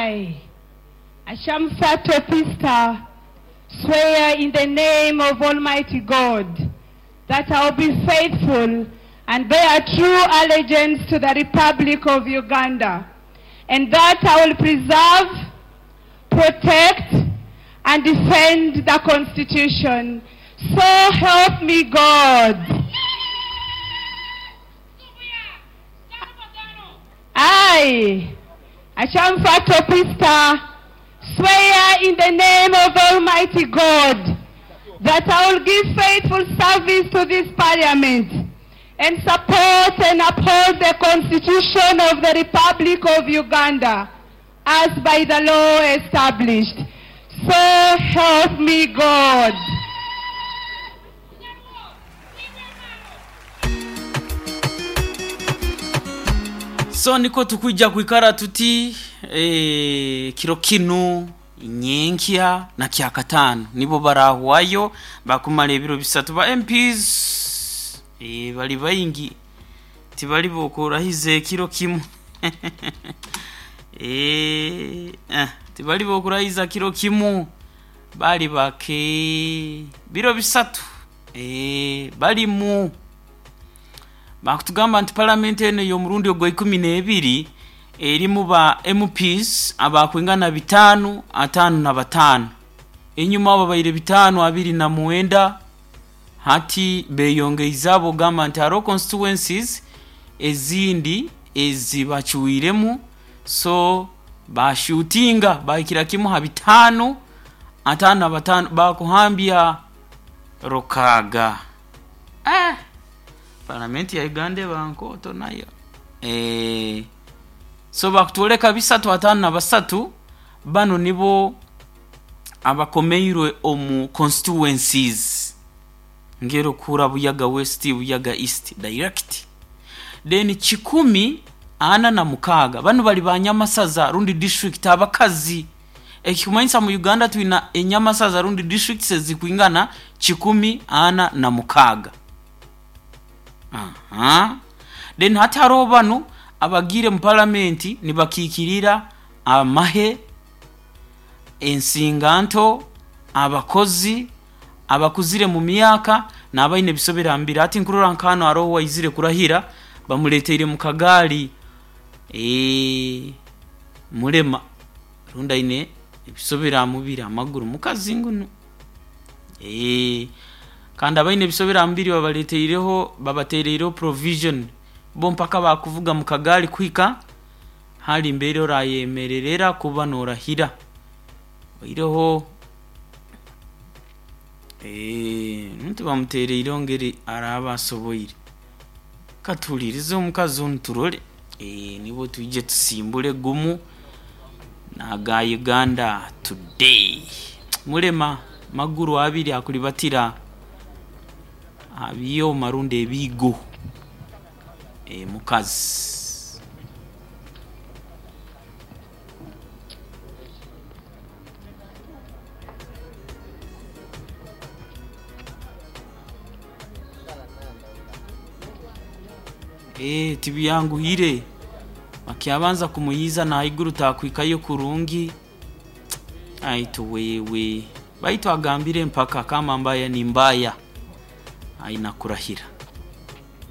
I, Ashamsa Topista, swear in the name of Almighty God that I will be faithful and bear true allegiance to the Republic of Uganda, and that I will preserve, protect, and defend the Constitution. So help me God. I, Achamfa Topista, swear in the name of Almighty God that I will give faithful service to this Parliament and support and uphold the Constitution of the Republic of Uganda as by the law established. So help me God. So niko tukwija kwikara tuti kiro kinu nyenkya na kyakatano nibo barahwayo bakumara ebiro bisatu ba MPs bali baingi tibali bokurahiza ekiro kimu tibali bokurahiza kiro kimu bali bake biro bisatu balimu bakutugamba nti palamenti eno y'omurundi ogwa 12 erimu ba MPs abakwingana 5 55 enyuma abo babaire 5 29 hati beyongeiza abo gamba nti hariho constituencies ezindi ezibacuiremu so bashutinga bahikira kimu ha 5 55 bakuhambya rukaga. Palamenti ya Uganda bankoto nayo so bakutoleka 3 53 bano nibo abakomeirwe omu constituencies ngero kura Buyaga West, Buyaga East direct then 146 bano bali banyamasaza rundi district abakazi ekikumanyisa mu Uganda twina enyamasaza rundi districts zikwingana 146. Aha. Then hati hariho bano abagire mu palamenti nibakikirira amahe, ensinganto, abakozi abakuzire mu myaka n'abaine bisobera mbiri. Ati nkurora nkano hariho waizire kurahira bamuleteire mu kagaali mulema runda ine ebisobera mubiri amaguru mukazi nguno kandi abaine bisobera mbiri babaleteireho babatereireho provision bo mpaka bakuvuga mu kagaali kwika hali mbere orayemererera kuba norahira oireho nti bamutereireho ngeri araba asoboire katulirize omukazi onu turole nibo twije tusimbule gumu naga Uganda Today. Mulema maguru abiri akulibatira abiyo marundi ebigo mukazi. Tibiyanguhire bakyabanza kumuyiza na iguru takwikayo kurungi aitu wewe baitu agambire mpaka kama mbaya ni mbaya aina kurahira.